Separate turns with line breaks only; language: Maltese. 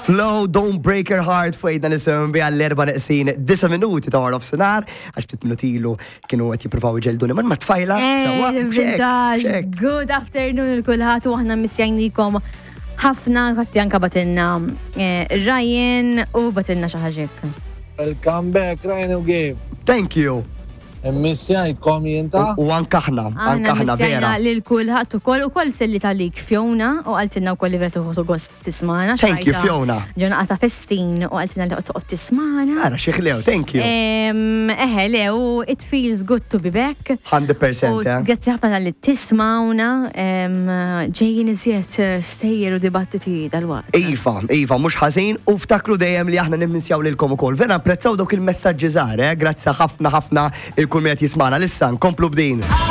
Flo, Don't Break Your Heart fuq għidna nisimgħu biha l-erba' neqsin 9 minuti ta' wara nofsinhar, għax ftit minuti ilu kienu qed jippruvaw iġelduni man ma' tfajla. Sewwa,
Vintage,
xek.
Good afternoon lil kulħadd u aħna missjajnikom ħafna, għatti anka bagħtilna Ryan u bagħtilna xi ħaġa hekk.
Welcome back, Ryan u Gabe.
Thank you.
Missjajtkom jien ta.
U anka aħna,
Aħna
anka aħna vera.
missjajna lil kulħadd ukoll selli talik Fiona u qaltilna wkoll li vera tieħu gost tismagħna.
Thank you,
Xajta
Fiona.
Ġona ta' festin u qaltilna li toqgħod tismagħna.
Ara, xieħlew, thank you.
Eħe, le, u it feels good to be back.
100%,
U
eh.
grazzi ħafna talli tismawna, ġejjin iżjed stejjer u dibattiti dal-waqt.
Iva, mhux ħażin u ftakru dejjem li aħna nimmissjaw lilkom ukoll. Vera apprezzaw dawk il-messaġġi żgħar, eh? Grazzi ħafna ħafna lil kull min qed jismagħna. Issa nkomplu b'din.